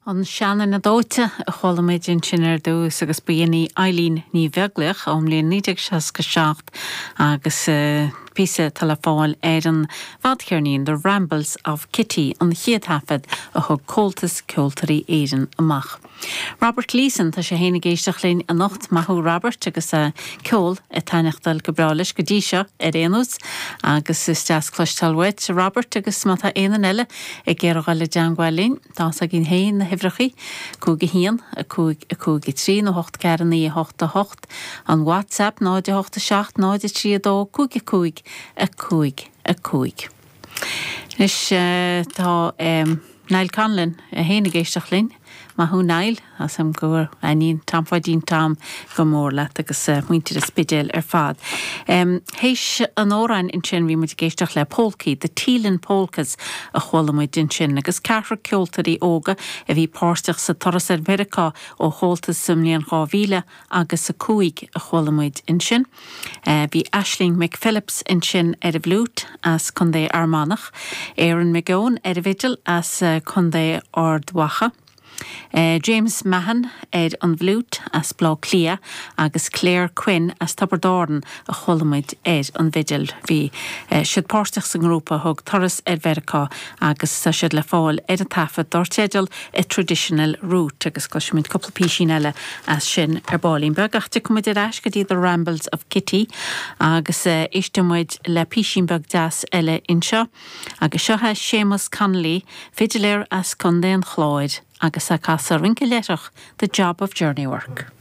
An Seanduine Dóite a chuala muid ansin ar dtús agus ba í Eileen Ní Bheaglaoich ón mbliain 1967 agus píosa atá le fáil ar an bhfadcheirnín The Rambles of Kitty, an chéad thaifead a thug Comhaltas Ceoltóirí Éireann amach. Robert Gleeson, tá sé féin ag éisteacht linn anocht, maith thú Robert agus ceol ag taitneachtáil go breá leis go dtí seo ar aon nós agus is deas cloisteáil uait Robert agus má tá aon duine eile ag iarraidh dhul i dteangmháil linn, Tá fhios againn féin na huimhreachaí, 5 1, 5 5 3 nó 8 4 9 8 8, an WhatsApp 0 8 7 0 3 2 5 5 5 5. Anois tá Niall Conlon é féin ag éisteacht linn. Maith thú Niall, tá 'fhios a'm go dtaitníonn Tom Pháidín Tom go mór leat agus muintir an Spidéil ar fad. Théis an amhráin ansin bhí muid ag éisteacht le polcaí, The Teelin Polkas a chuala muid ansin agus ceathrar ceoltóirí óga a bhí páirteach sa turas ar Mheiriceá ó Chomhaltas sa mbliain 2000 agus 5 a chuala muid ansin. Bhí Aisling McPhillips ansin ar an bhfliúit as Contae Fhear Manach, Aaron McGeown ar an bhfidil as Contae Ard Mhacha, James Mahon ar an bhfliúit as Baile Átha Cliath agus Claire Quinn as Tiobraid Árann a chuala muid ar an bhfidil. Bhí siad páirteach sa ngrúpa a thug turas ar Mheiriceá agus tá siad le fáil ar an taifead dar teideal A Traditional Route agus cloisfimid cúpla písín eile as sin ar baillín beag ach tiocfaidh muid ar ais go dtí The Rambles of Kitty agus éistfidh muid le písín beag deas eile anseo agus seo é Séamus Connolly, fidiléir as Contae an Chláir agus é ag casadh rince leithreach The Job of Journey Work.